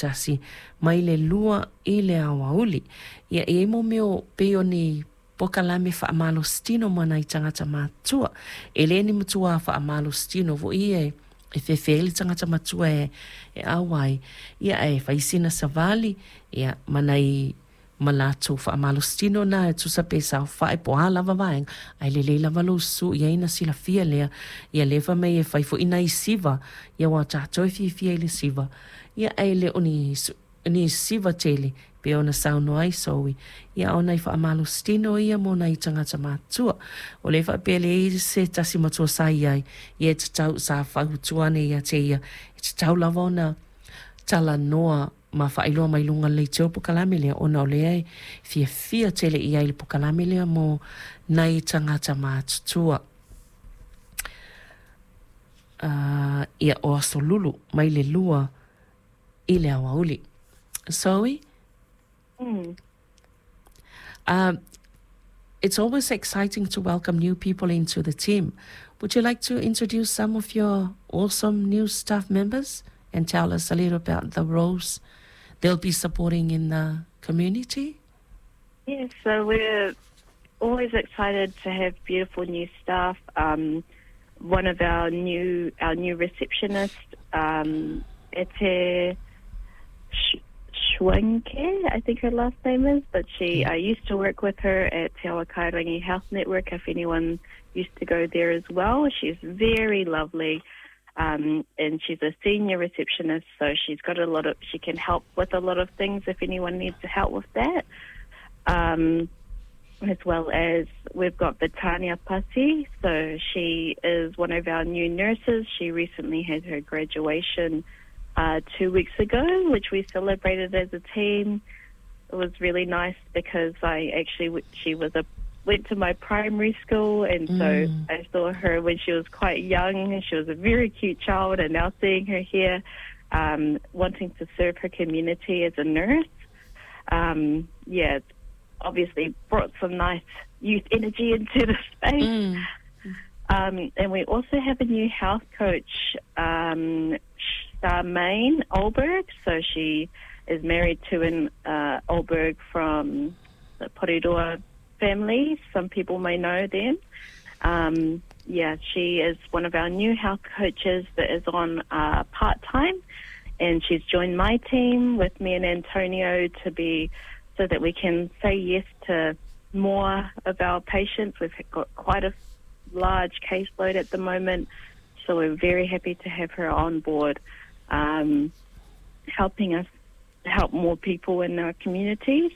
tasi mai le 2 i le aoauli. Ia, e i ai mo mea o pei o ni polokalame faamalositino mo nai tagata matutua. E le ni matua faamalositino foi ia e fefe ai le tagata matua e auai, ia ae fai sina savali, ia, ma nai ma latou faamalositino na e tusa pe saofai po o a lava vaega, ae lelei lava lou susu i ai ona silafia lea, ia lea fai mai e fai foi nai siva, ia aua o tatou e fiafia i le siva, ia ae le o ni ni siva tele pei ona saunoa ai Zoe, ia a o nai faamalositino ia mo nai tagata matutua. O lea e faapea e leai se tasi matua sa i ai, ia e tatau, sa fautua ane ia te ia, e tatau lava ona talanoa ma faailoa mai luga o le leitio le polokalame lea ona o lea e fiafia tele i ai i le polokalame lea mo nai tagata matutua. Uh, ia, o Aso Lulu mai le 2 i le aoauli. Zoe? It's always exciting to welcome new people into the team. Would you like to introduce some of your awesome new staff members and tell us a little about the roles they'll be supporting in the community? Yes, so we're always excited to have beautiful new staff. One of our new our new receptionist, Ete Schwenke, I think her last name is, but she I used to work with her at Te Awakairangi Health Network, if anyone used to go there as well. She's very lovely. And she's a senior receptionist, so she's got a lot of, she can help with a lot of things if anyone needs help with that. As well as we've got Vitania Pasi, so she is one of our new nurses. She recently had her graduation 2 weeks ago, which we celebrated as a team. It was really nice because I actually, she was a went to my primary school, and so I saw her when she was quite young, and she was a very cute child, and now seeing her here, wanting to serve her community as a nurse, yeah, it's obviously brought some nice youth energy into the space. And we also have a new health coach, Charmaine Olberg. So she is married to an Olberg from the Porirua family. Some people may know them. Yeah, she is one of our new health coaches that is on part-time, and she's joined my team with me and Antonio to be so that we can say yes to more of our patients. We've got quite a large caseload at the moment, so we're very happy to have her on board, helping us help more people in our communities.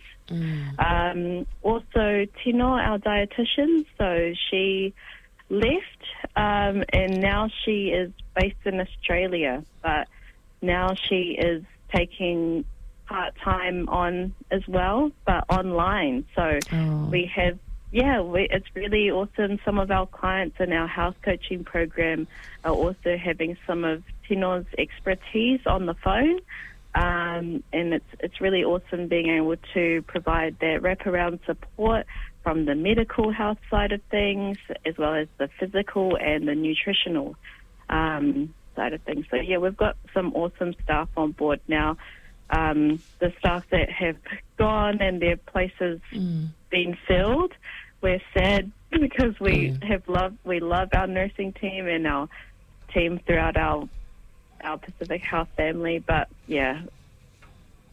Also, Tino, our dietitian, so she left, and now she is based in Australia, but now she is taking part-time on as well, but online. So we have, yeah, we, it's really awesome. Some of our clients in our health coaching program are also having some of Tino's expertise on the phone. And it's really awesome being able to provide that wraparound support from the medical health side of things, as well as the physical and the nutritional side of things. So, yeah, we've got some awesome staff on board now. The staff that have gone and their places been filled, we're sad because we have loved, we love our nursing team and our team throughout our Pacific Health family, but yeah,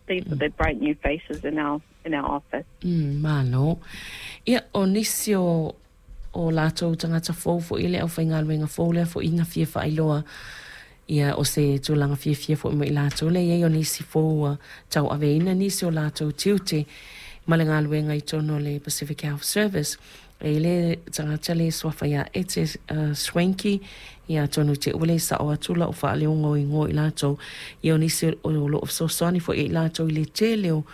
these are the bright new faces in our in our office. Malo. Ia, o nisi o o latou tagata fou foi le aufaigaluega fou lea foi na fia faailoa ia o se tulaga fiafia foi mo i latou le i ai o nisi fou ua tauaveina nisi o latou tiute ma le galuega i totonu o le Pacific Health Service. E i ai le tagata le suafa ia Ete Swanky, ia atonu te ua le sao atu lau faaleoga o igoa i latou, ia o nisi o loo fesoasoani foi ia i latou i le tele o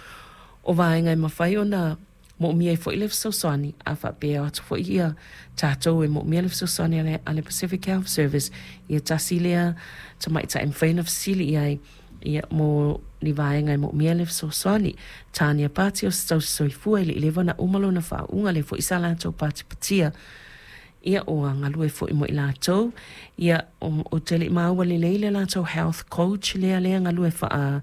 o vaega e mafai ona moomia ai foi le fesoasoani, a faapea atu foi ia tatou e moomia le fesoasoani a le, a le Pacific Health Service, ia tasi lea tamaitai e mafai ona fesili i ai ia mo ni vaega e moomia le fesoasoani. Tania Pati o se tausi soifua e le i leva ona uma lona faauuga lea foi sa latou patipatia ia ua galue foi mo i latou ia ou te le i maua lelei le latou health coach lea lea galue faa